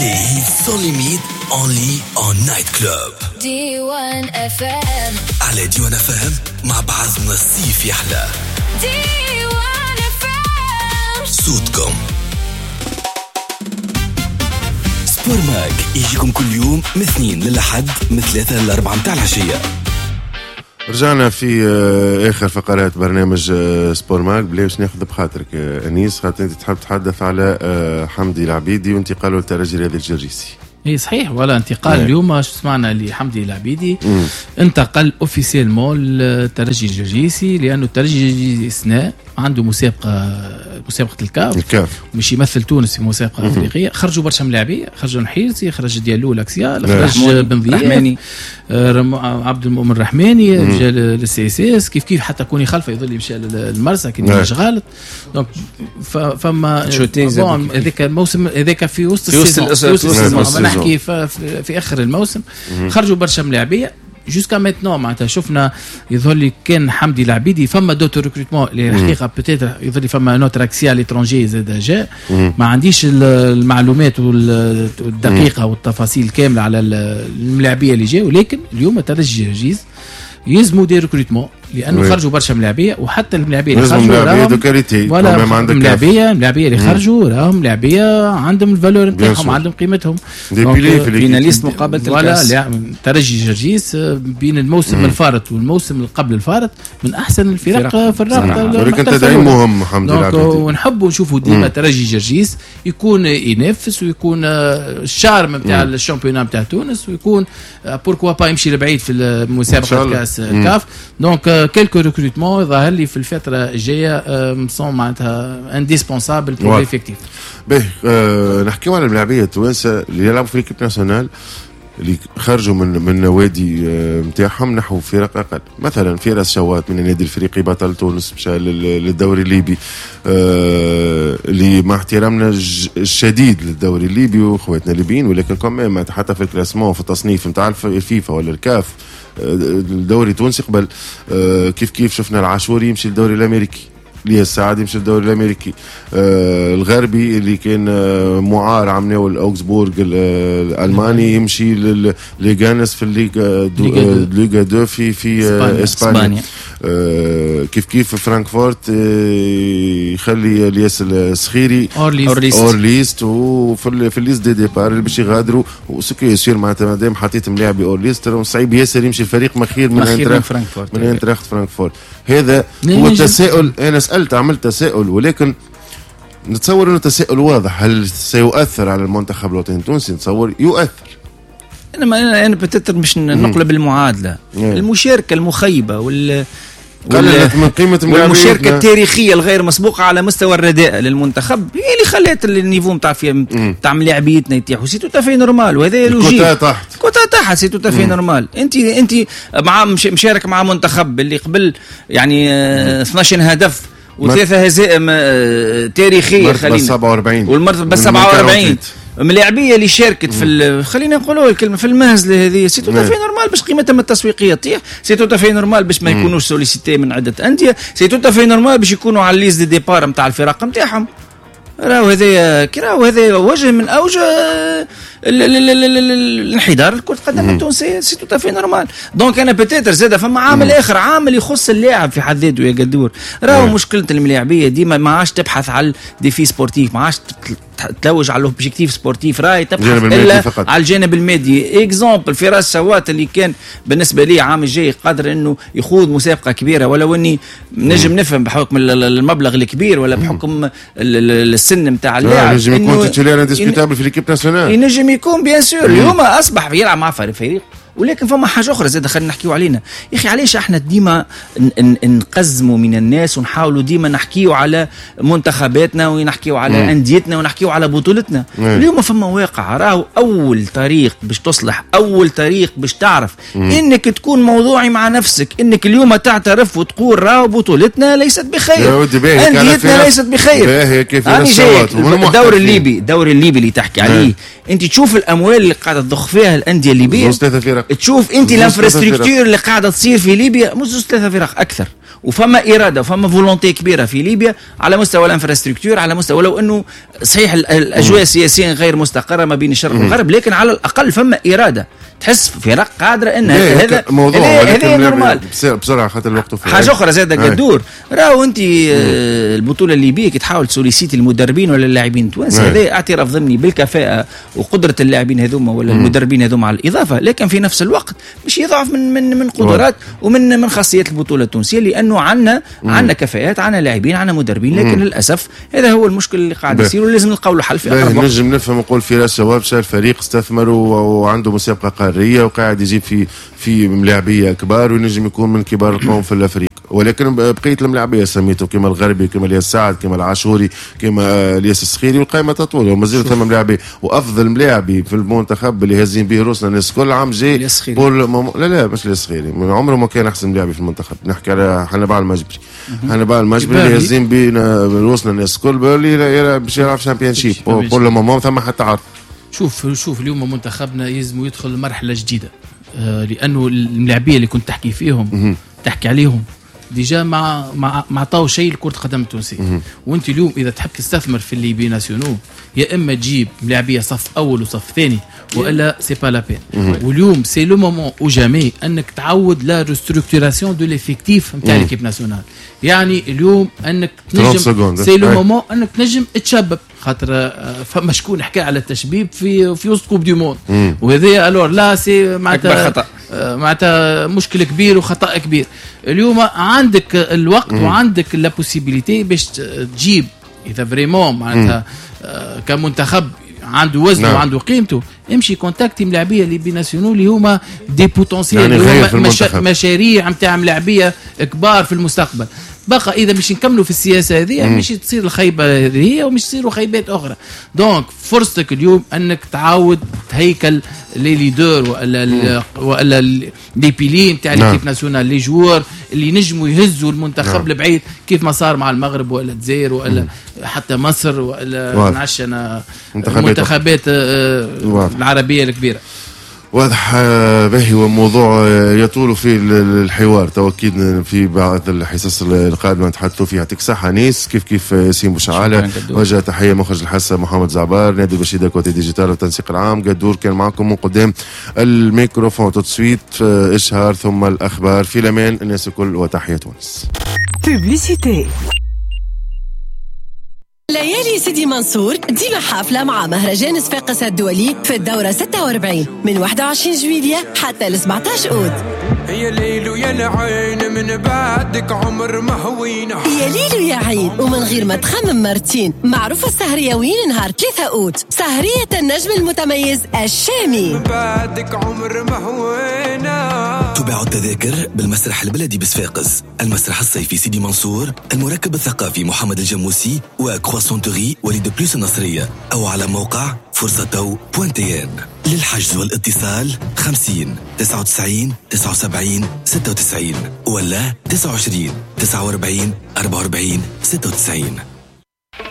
Les hits sans limite, only en night club. D1 FM. على D1 FM مع بعضنا الصيف يحلى. D1 FM. صوتكم. Sport Mag يجيكم كل يوم من اثنين للأحد من 3 ل4 متاع العشية. رجعنا في اخر فقرات برنامج Sport Mag. بلا باش ناخذ بخاطرك انيس، خاطر انت تحب تحدث على حمدي العبيدي وانتقاله للترجي الرياضي الجرجيسي. اي صحيح، ولا انتقال اليوم سمعنا لحمدي العبيدي انتقل officiellement للترجي الجرجيسي، لانه الترجي الجرجيسي السنة عنده مسابقة الكاف مش يمثل تونس في مسابقة افريقية. خرجوا برشا ملاعبيه، خرجوا نحيرسي، خرج ديالو l'axial، خرج بن ضياف، عبد المؤمن الرحماني مشى لل CSS، كيف كيف حتى كوني خلفه يظل مشى للمرسى كي مش غلط. donc فما هذاك الموسم هذاك في وسط ال saison، نحكي في اخر الموسم خرجوا برشا ملاعبيه jusqu'à maintenant. معناتها شفنا يظهر لي كان حمدي العبيدي فما d'autres recrutements اللي الحقيقة peut-être يظهر لي فما un autre axial étranger زاد جاء، ما عنديش المعلومات والدقيقة والتفاصيل كاملة على الملاعبيه اللي جاوا، ولكن اليوم ترجي جرجيس يلزموا des recrutements لانه خرجوا برشا ملاعبيه، وحتى الملاعبيه اللي خرجوا راهم ملاعبيه اللي خرجوا راهم ملاعبيه عندهم ال valeur نتاعهم، عندهم قيمتهم. finaliste مقابله الكاس ترجي جرجيس بين الموسم الفارط والموسم اللي قبل الفارط من احسن الفرق في الرابطة، ولكن تدعيم مهم حمدي العبيدي. ونحبوا نشوفوا ديما ترجي جرجيس يكون ينافس ويكون ال charme نتاع ال championnat نتاع تونس، ويكون pourquoi pas يمشي لبعيد في مسابقة كاس الكاف. donc quelques recrutements ظهر لي في الفترة الجاية sont معناتها indispensables pour l'effectif. باهي، نحكيو على الملاعبيه التوانسة اللي يلعبوا في l'équipe nationale اللي خرجوا من النوادي نتاعهم نحو فرق اقل. مثلا فراس شوات من النادي الافريقي بطل تونس مشى للدوري الليبي، اللي مع احترامنا الشديد للدوري الليبي واخواتنا الليبيين، ولكن quand même حتى في ال classement في التصنيف نتاع الفيفا ولا الكاف الدوري التونسي قبل. كيف كيف شفنا العاشوري يمشي للدوري الامريكي، ليه السعد يمشي للدوري الامريكي، الغربي اللي كان معار عمناو الاوكسبورغ الالماني يمشي لليغانس في الليغا 2 في اسبانيا. كيف كيف فرانكفورت يخلي الياس الصخيري hors liste وفي في ال liste des départs اللي باش يغادروا، و ce qui est sûr معناتها مادام حطيت ملاعبي hors liste صعيب ياسر يمشي الفريق مخير من فرانكفورت، من انتراخت فرانكفورت. هذا هو التساؤل، انا سألت عملت تساؤل، ولكن نتصور انه تساؤل واضح. هل سيؤثر على المنتخب الوطني التونسي؟ نتصور يؤثر. انا peut-être باش نقلب المعادلة. المشاركة المخيبه قللت من قيمة والمشاركة التاريخية الغير مسبوقة على مستوى الرداء للمنتخب هي اللي خلات ال niveau نتاع ملاعبيتنا يطيحوا. c'est tout à fait normal، وهذا logique. quota تحت c'est tout à fait normal. انت مع مشارك مع منتخب اللي قبل يعني 12 هدف وثلاثة هزائم تاريخية، خلينا 47 والمرتبة 47 ملاعبيه اللي شاركت في خلينا نقولوا الكلمة في المهزلة هذه. c'est tout à fait normal باش قيمتهم التسويقية تطيح، c'est tout à fait normal باش ما يكونوش sollicités من عده اندية، c'est tout à fait normal باش يكونوا على liste des départs نتاع الفرق نتاعهم. راهو هذا راهو هذا وجه من اوجه الانحدار لكرة القدم التونسية. c'est tout à fait normal. donc انا peut-être زاد فما عامل اخر، عامل يخص اللاعب في حد ذاته يا قدور. راهو مشكلة الملاعبيه ديما ما عادش تبحث على défi sportif، ما عادش تلوج على l'objectif sportif، راهي تبحث الا على الجانب المادي. exemple فراس شوات اللي كان بالنسبة لي عام الجاي قادر انه يخوض مسابقة كبيرة، ولو اني نجم نفهم بحكم المبلغ الكبير ولا بحكم السن نتاع اللاعب ينجم يكون titulaire indiscutable في l'équipe nationale، ينجم يكون bien sûr. اليوم اصبح يلعب مع فريق. ولكن فما حاجة اخرى زاد خلينا نحكيو علينا يا اخي، علاش احنا ديما نقزموا من الناس ونحاولوا ديما نحكيو على منتخباتنا ونحكيو على انديتنا ونحكيو على بطولتنا؟ اليوم فما واقع، راهو اول طريق باش تصلح، اول طريق باش تعرف انك تكون موضوعي مع نفسك، انك اليوم تعترف وتقول راهو بطولتنا ليست بخير، انديتنا ليست بخير. الدوري الليبي، الدوري الليبي اللي تحكي عليه انت، تشوف الاموال اللي قاعدة تضخ فيها الاندية الليبية، تشوف انت l'infrastructure اللي قاعدة تصير في ليبيا، مش زوز ثلاثة فرق، اكثر، وفما اراده وفما volonté كبيرة في ليبيا على مستوى l'infrastructure، على مستوى، ولو انه صحيح الاجواء السياسية غير مستقره ما بين الشرق والغرب، لكن على الاقل فما اراده، تحس فرق قادرة انها هذا موضوع، هذا normal. بسرعة خاطر الوقت. حاجة اخرى زاد قدور، راهو انت البطولة الليبية كي تحاول ت solliciter المدربين ولا اللاعبين التوانسة، هذا اعتراف ضمني بالكفاءه وقدره اللاعبين هذوما ولا المدربين هذوما على الاضافة، لكن في نفس الوقت مش يضعف من قدرات ومن خاصيات البطولة التونسية، لانه عندنا كفاءات، عندنا لاعبين، عندنا مدربين، لكن للاسف هذا هو المشكل اللي قاعد يصير ولازم نلقاو له حل في اقرب وقت. نجم نفهم نقول فراس شوابشه الفريق استثمر وعنده مسابقة قارية وقاعد يجيب في ملاعبيه كبار وينجم يكون من كبار القوم في الافريق، ولكن بقية الملاعبيه سميته كما الغربي، كما الياس سعد، كما العاشوري، كما الياس السخيري، والقائمه تطول ومازال ثم ملاعبي. وافضل ملاعبي في المنتخب اللي هازين به روسنا الناس كل عام جاي بول لا مش الياس السخيري، من عمره ما كان احسن ملاعبي في المنتخب، نحكي على حنبعل المجبري. حنبعل المجبري اللي هازين به روسنا الناس الكل اللي باش يلعب Championship pour le moment ثم حتى عرض. شوف اليوم منتخبنا يلزم يدخل مرحلة جديدة، لانه الملاعبيه اللي كنت تحكي فيهم تحكي عليهم déjà ما عطاو شيء لكرة القدم التونسية. وانت اليوم اذا تحب تستثمر في les binationaux، يا اما تجيب ملاعبيه صف اول وصف ثاني، والا c'est pas la peine. واليوم c'est le moment ou jamais انك تعود la restructuration de l'effectif نتاع l'équipe nationale. يعني اليوم انك تنجم c'est le moment انك تنجم تشبب، خاطر فما شكون حكى على التشبيب في وسط Coupe du Monde، وهذا alors là c'est معناتها خطا، معناتها مشكل كبير وخطا كبير. اليوم عندك الوقت وعندك la possibilité باش تجيب اذا vraiment معناتها كمنتخب عنده وزنه وعنده قيمته، امشي contacter ملاعبيه les binationaux اللي هما des potentiels، اللي هما مشاريع نتاع ملاعبيه كبار في المستقبل. بقى اذا مش نكملوا في السياسة هذه مش تصير الخيبه هذه ومش تصيروا خيبات اخرى. donc فرصتك اليوم انك تعاود تهيكل les leaders والا les piliers نتاع l'équipe nationale، les joueurs اللي نجموا يهزوا المنتخب لبعيد كيف ما صار مع المغرب ولا الجزائر ولا حتى مصر ولا نعش انا المنتخبات العربية الكبيرة. واضح باهي، وموضوع يطول في الحوار تو اكيد في بعض الحصص القادمة نتحدثوا فيها. يعطيك الصحة نيس، كيف كيف ياسين بوشعاله، وجه تحية مخرج الحصة محمد زعبار، نادي بشيده côté digital والتنسيق العام، قدور كان معكم من قدام الميكروفون. tout de suite اشهار ثم الاخبار في الامان الناس الكل، وتحية تونس. Publicité. ليالي سيدي منصور ديما حافلة مع مهرجان صفاقس الدولي في الدورة 46 من 21 جويلية حتى 17 أوت. يا ليل ويا العين من بعدك عمر ما هوينا، يا ليل ويا عين ومن غير ما تخمم مرتين. معروفة السهرية وين نهار 3 أوت، سهرية النجم المتميز الشامي. من بعدك عمر ما هوينا. تباع التذاكر بالمسرح البلدي بصفاقس، المسرح الصيفي سيدي منصور، المركب الثقافي محمد الجموسي، و Croissanterie وليد بلوس النصرية، أو على موقع فرصة .tn. للحجز والاتصال 50 99 79 96 ولا 29 49 44 96.